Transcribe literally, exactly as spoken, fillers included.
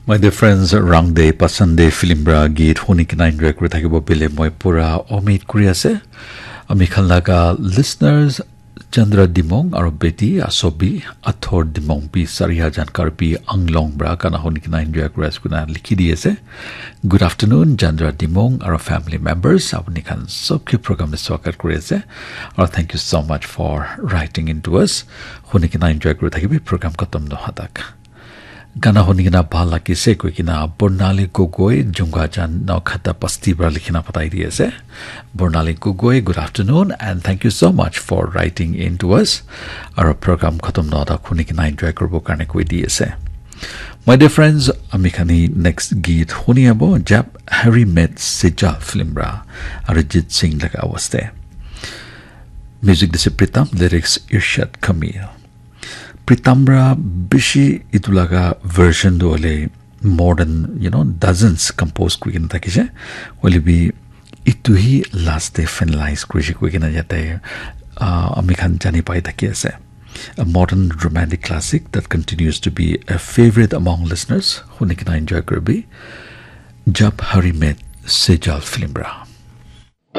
My dear friends, Rang De Pasan De film pra geet huni kena enjoy kuri thakibo bile moi pura omid kuri ase. Ami khan laga listeners Chandra Dimong aro beti Asobi Athor Dimong bi Sariha Jankar bi Anglong pra gana huni kena enjoy kuri ase kuna likhi di ase. Good afternoon, Chandra Dimong aro family members. Apni khan sob ke program le swagat kuri ase. Aro thank you so much for writing in to us. Huni kena enjoy kuri thakibi program khatam noha tak. Gana huni kena bhal lagise koi kena Bornali Gogoi Junga Jan Nau Khata Pasti pra likhina patai di ase. Bornali Gogoi, good afternoon and thank you so much for writing in to us. Aro program khatam noha tak huni kena enjoy kuri bo karne koi di ase. My dear friends, ami khani next geet huni abo Jab Hari Met Sejal film ra Arijit Singh laga awaste. Music dise Pritam, lyrics Irshad Kamil. Pritam ra bishi itu laga version tu hole more than, you know, dozens compose kuri kena thakise. Hole bi itu hi last te finalize kurise koi kena yate, ah, ami khan jani pai thaki ase. A modern romantic classic that continues to be a favorite among listeners. Huni kena enjoy kuri bi. Jab Hari Met Sejal film ra.